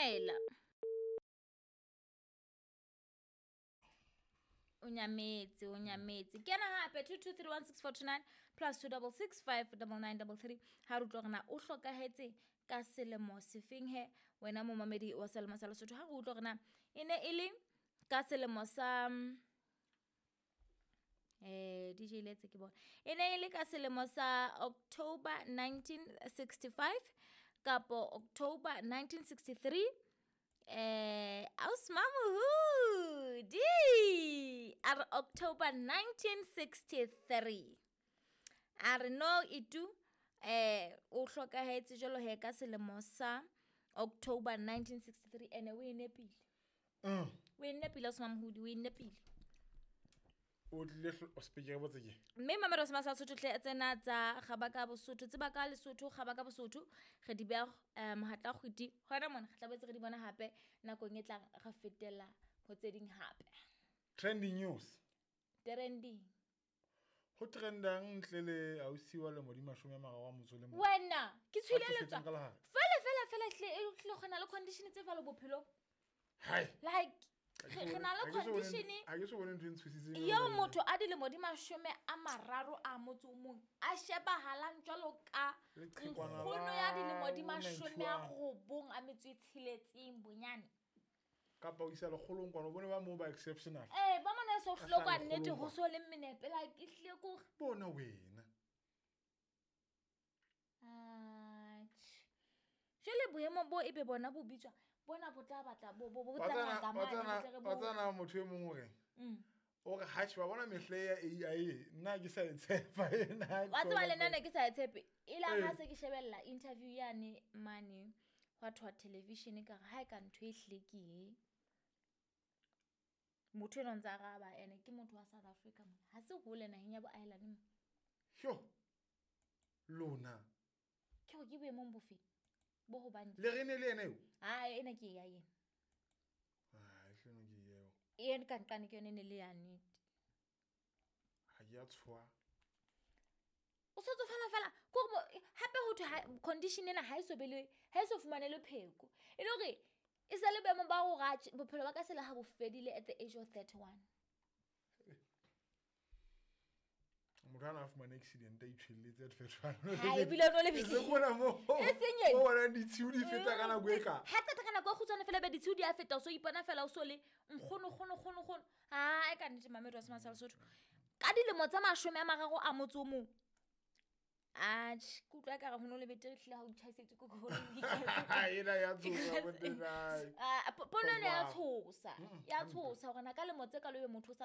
Dumela. O nyametse, o nyametse. Kena hape 22316429 plus 26659933 ha re utlwa hore na o hlokahetse ka selemo sefeng he wena momamedi wa selemo sa Lesotho. Ha re utlwa hore na e ne e le ka selemo sa DJ Letse ke bona. E ne e le ka selemo sa October 1965 kapo October 1963. Ausmamuhudi a re October 1963. A re no itu o hlokahetse jwalo he ka selemo sa October 1963 ene o e nepile. O e nepile Ausmamuhudi, o e nepile. O tlile speaker botse ke. Mme mamelo se masa Sotho tle tsena tsa Gabaka Bosotho, tseba ka Lesotho, Gabaka Bosotho, re di beha mohatla kgwiti. Hona mona re tla boetse re di bona hape nakong e tlang re fetela ho tse ding hape. Trending news. Trending. Ho trendang ntle le ausi wa lemo di 30 a motso le mong. Wena ke Ba tshwile tsofetseng letswa. ka lehare. Fela fela fela hle e hle gona le condition tse jwalo bophelong. Hai. Like re na le condition Ha ke so bone ntho e ntshositseng. eo motho a dilemo di 30 a motso o mong a shebahalang jwalo ka Leqhekwana nkgono la ya dilemo di bo 96 a metso e tsheletseng bonyane. Kapa o isa lekgolong kwana o bone ba moo ba exceptional. Ba mona e so Ka hloka hlano nnete lekgolong ho kwana. so le menepe like e hlile ko Bona wena. Atjhe. Jwale boemo bo ebe bona bo bitswa bona bo tla batla bo bo bo tsamaya ka mane, bo tle re bo- Wa tsana motho e mong o reng? O re hatjhe wa bona mehle ya AI nna ke sa e tshepa ena. Wa tseba le nna ne ke sa e tshepe. E la ha Ee. se ke shebella interview yane mane hwa thwa television ka re ha e ka ntho e hlile ke e. Motho enwa o ntsa araba ene ke motho wa South Africa mona. Ha se hole naheng ya bo Ireland mo. Sho. Lona. Ke hore ke boemong bofe? Bo hobane. Le re ne le yena eo? Ha ena ke ya yena. Ah, hleno ke eo. Ena ka nqane ke yone e ne le ya nnete. Ha ke a tshoha. O so tsofala fela ke hore hape ho thwe condition ena ha e so be le, ha e so fumane le pheko. E le hore e sa le boemong ba hore atjhe, bophelo ba ka se le ha bo fedile at the age of 31. Motho ana a fumane accident a itjhelletse at first one. Ha, ebile o no le E se mona mo. E seng ena. O bona ditshiu di feta ka nako e ka. Ha qeta ka nako e kgutshwane fela be ditshiu di a feta, o so ipona fela o so le nkgono, kgono, kgono, kgono. Ha, e ka nnete mamedi wa Semane sa Lesotho. Ka dilemo tsa 30 a motso o mong. Atjhe, ke utlwa ekare ho no le betere ehlile ha o tjhaisetswe ke koloi. Ena ya tshosa, bo tena. Ah, pono ena ya Wow. tshosa. Ya tshosa hore na ka lemo tse kalo ebe motho o sa